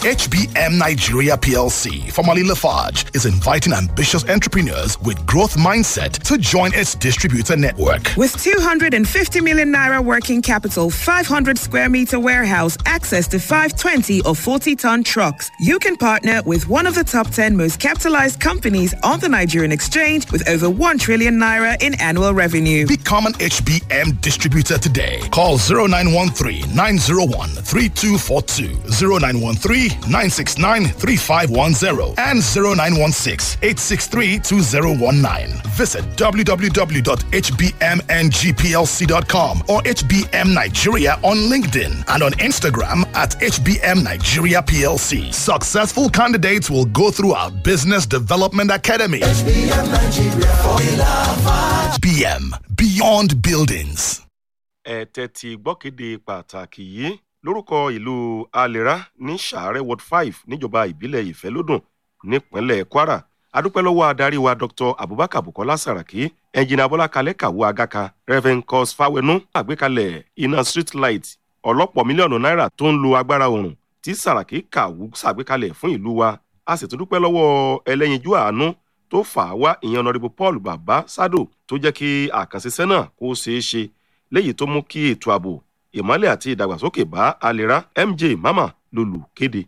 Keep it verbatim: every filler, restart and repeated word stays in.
H B M Nigeria P L C, formerly Lafarge, is inviting ambitious entrepreneurs with growth mindset to join its distributor network. With two hundred fifty million naira working capital, five hundred square meter warehouse, access to five twenty or forty ton trucks, you can partner with one of the top ten most capitalized companies on the Nigerian exchange with over one trillion naira in annual revenue. Become an H B M distributor today. Call zero nine one three nine zero one three two four two, zero nine one three nine six nine three five one zero, and zero nine one six eight six three two zero one nine. Visit w w w dot h b m n g p l c dot com or H B M Nigeria on LinkedIn and on Instagram at H B M Nigeria P L C. Successful candidates will go through our Business Development Academy. H B M, Beyond Buildings. Ẹ tẹ́tí gbọ́kéde pàtàkì yìí lórúkọ ìlú Alera ní Sàárẹ̀ Ward five níjọba ìbílẹ̀ Ìfẹ́lódùn nípínlẹ̀ Kwara. Adúpẹ́ lọ́wọ́ adarí wa, Doctor Abubakar Bukola Saraki, Ẹnjìnà Bọ́lá Kalẹ́ Kàwọ́ Agaka, Reverend Cos Fawenu. Àgbékalẹ̀ iná street light ọlọ́pọ̀ mílíọ̀nù náírà tó ń lo agbára oòrùn tí Saraki Kàwú ṣàgbékalẹ̀ fún ìlú wa. A sì tún dúpẹ́ lọ́wọ́ ẹlẹ́yinjú àánú tó fà á wá, ìyẹn Honourable Paul Baba Sado, tó jẹ́ kí àkànṣiṣẹ́ náà kó ṣeé ṣe, léyìí tó mú kí ètò ààbò, ìmọ́lẹ̀ àti ìdàgbàsókè bá Alera. M J Mama lolùkéde.